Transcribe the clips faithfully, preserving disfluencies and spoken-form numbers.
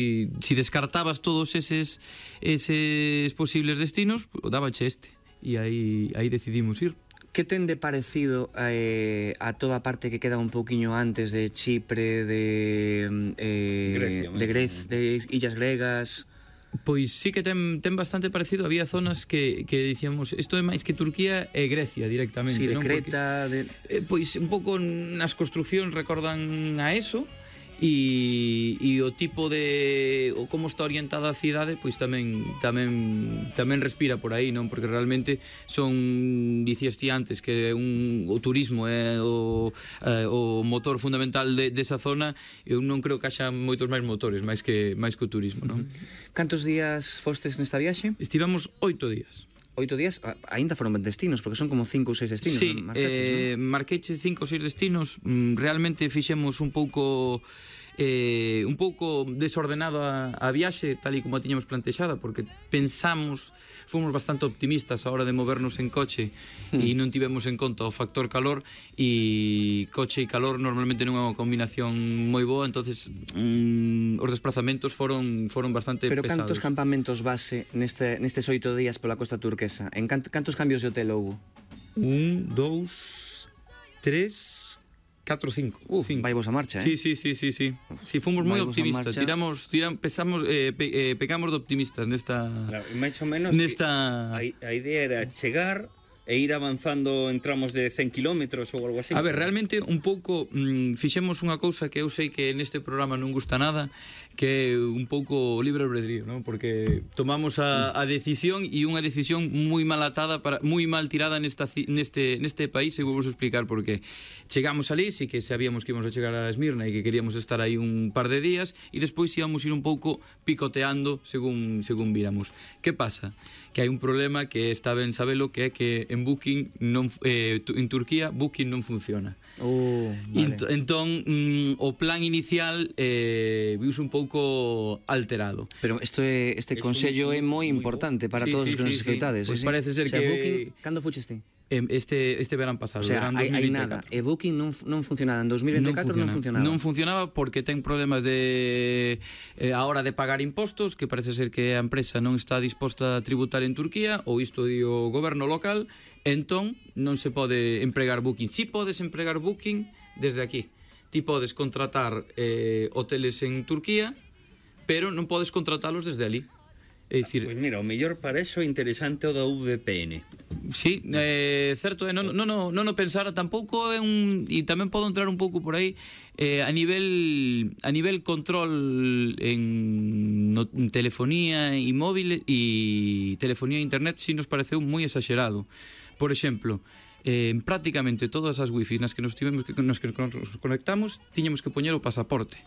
E si descartabas todos eses eses posibles destinos, dábache este. E aí, aí decidimos ir. Que ten de parecido eh, a toda a parte que queda un pouquiño antes de Chipre, de eh, Grecia, de Grecia, de illas gregas? Pois sí que ten, ten bastante parecido. Había zonas que, que dicíamos isto é máis que Turquía e Grecia directamente, Sí, de non? Creta, Porque, de... eh, Pois un pouco nas construccións recordan a eso. E, e o tipo de o como está orientada a cidade pois tamén tamén tamén respira por aí, non? Porque realmente son, dicías ti antes que un, o turismo é o, eh, o motor fundamental de, desa zona. Eu non creo que haxa moitos máis motores máis que máis que o turismo, non? Cantos días fostes nesta viaxe? Estivemos oito días. Oito días, aínda foron ben destinos, porque son como cinco ou seis destinos. Sí, marcaches, eh, non? marqueche cinco ou seis destinos. mm, Realmente fixemos un pouco eh, un pouco desordenado a, a viaxe, tal e como a tiñamos plantexada, porque pensamos, fomos bastante optimistas a hora de movernos en coche hmm. e non tivemos en conta o factor calor, e coche e calor normalmente non é unha combinación moi boa, entonces mm, os desplazamentos foron foron bastante Pero pesados. cantos campamentos base neste, nestes oito días pola costa turquesa? En cant, cantos cambios de hotel houve? Un, dous, tres... catro, cinco. Uh, vai vos a marcha, eh? Sí, sí, sí, sí, sí. Sí, fomos moi optimistas. Tiramos, tiram, pesamos, eh, pe, eh, pecamos de optimistas nesta... Claro, máis ou menos nesta... a, a idea era chegar e ir avanzando en tramos de cen kilómetros ou algo así. A ver, realmente un pouco mm, fixemos unha cousa que eu sei que neste programa non gusta nada, que é un pouco libre albedrío, ¿no? Porque tomamos a, a decisión, e unha decisión moi mal atada, para, moi mal tirada nesta, neste, neste país, e vou vos explicar por qué. Chegamos ali, sí que sabíamos que íbamos a chegar a Esmirna e que queríamos estar aí un par de días, e despois íbamos ir un pouco picoteando según, según viramos. Que pasa? Que hai un problema que está ben sabelo, que é que en Booking non, eh, en Turquía Booking non funciona. Oh, vale. Ent, entón mm, o plan inicial eh, viuse un pouco alterado. Pero isto é, este es consello un, é moi muy importante para sí, todos sí, os que nos sí, escoitades. sí. Pues sí, parece ser o sea, que Booking, cando fuches ti? Este, este verán pasado, O sea, verán hai, hai dos mil nada, veinticuatro. e Booking non, non funcionaba en dos mil veinticuatro, non, funciona, funcionaba. Non funcionaba porque ten problemas de eh, a hora de pagar impostos, que parece ser que a empresa non está disposta a tributar en Turquía, ou isto di o goberno local, entón non se pode empregar Booking. Si podes empregar Booking desde aquí. Ti podes contratar eh, hoteles en Turquía, pero non podes contratalos desde ali. É dicir, Pois pues mira, o mellor para eso é interesante o da V P N. sí, eh, certo, eh, non, non, non, non o pensara tampouco é un, e tamén podo entrar un pouco por aí eh, a nivel a nivel control en, no, en telefonía e móvil e telefonía e internet si nos pareceu moi exagerado. Por exemplo, eh, prácticamente todas as wifi nas que nos tivemos que nos que nos conectamos tiñamos que poñer o pasaporte,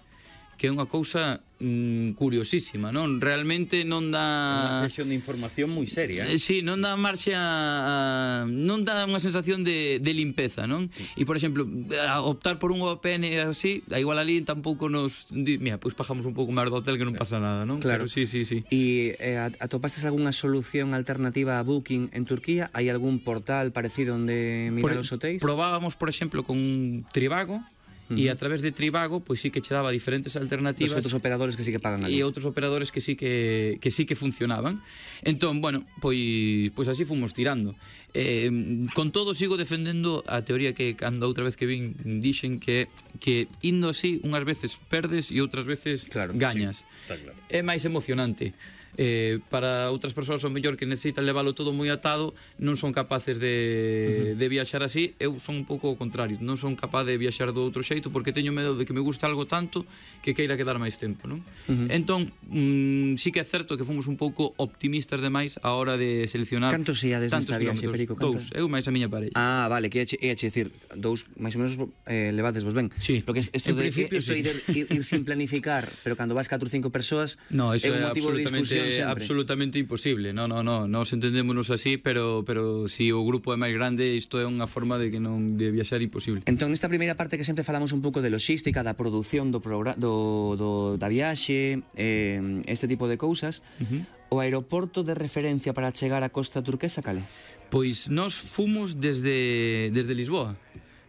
que é unha cousa mm, curiosísima, non? Realmente non dá... Unha sesión de información moi seria, Eh, eh? sí, non dá marxe a... non dá unha sensación de, de limpeza, non? E, por exemplo, a optar por un V P N así, a igual ali tampouco nos... Di, mira, pois pues pagamos un pouco máis do hotel que non pasa nada, non? Claro. Pero sí, sí, sí. E eh, atopastes algunha solución alternativa a Booking en Turquía? Hai algún portal parecido onde mirar Por, os hotéis? Probábamos, por exemplo, con Trivago, uh-huh. e a través de Trivago pois sí que che daba diferentes alternativas. Os outros operadores que sí que pagan ali. E outros operadores que sí que, que sí que funcionaban. Entón, bueno, pois, pois así fomos tirando. Eh, con todo sigo defendendo a teoría que cando outra vez que vin dixen que que indo así unhas veces perdes e outras veces claro, gañas. Sí, está claro. É máis emocionante. Eh, para outras persoas o mellor que necesitan leválo todo moi atado non son capaces de, uh-huh. de viaxar así. Eu son un pouco o contrario, non son capaz de viaxar do outro xeito porque teño medo de que me guste algo tanto que queira quedar máis tempo, non? Uh-huh. Entón, mm, sí que é certo que fomos un pouco optimistas demais a hora de seleccionar cantos íades nesta viaxe, Perico? Dous, eu máis a miña parella. Ah, vale, que ia che dicir dous, máis ou menos eh, levades vos ben. Sí. Porque isto de, principio, esto sí. de ir, ir, ir sin planificar, pero cando vas catro ou cinco persoas no, eso é un é motivo de discusión sempre. absolutamente imposible. No, no, no, nos entendémonos así, pero pero si o grupo é máis grande, isto é unha forma de que non de viaxar imposible. Entón, nesta primeira parte que sempre falamos un pouco de logística, da produción do programa, do, do da viaxe, eh, este tipo de cousas, uh-huh. o aeroporto de referencia para chegar á costa turquesa, cale? Pois nós fomos desde desde Lisboa.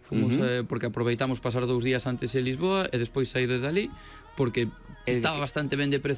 Fomos uh-huh. eh, porque aproveitamos pasar dous días antes en Lisboa e despois saír desde ali, porque estaba bastante ben de prezo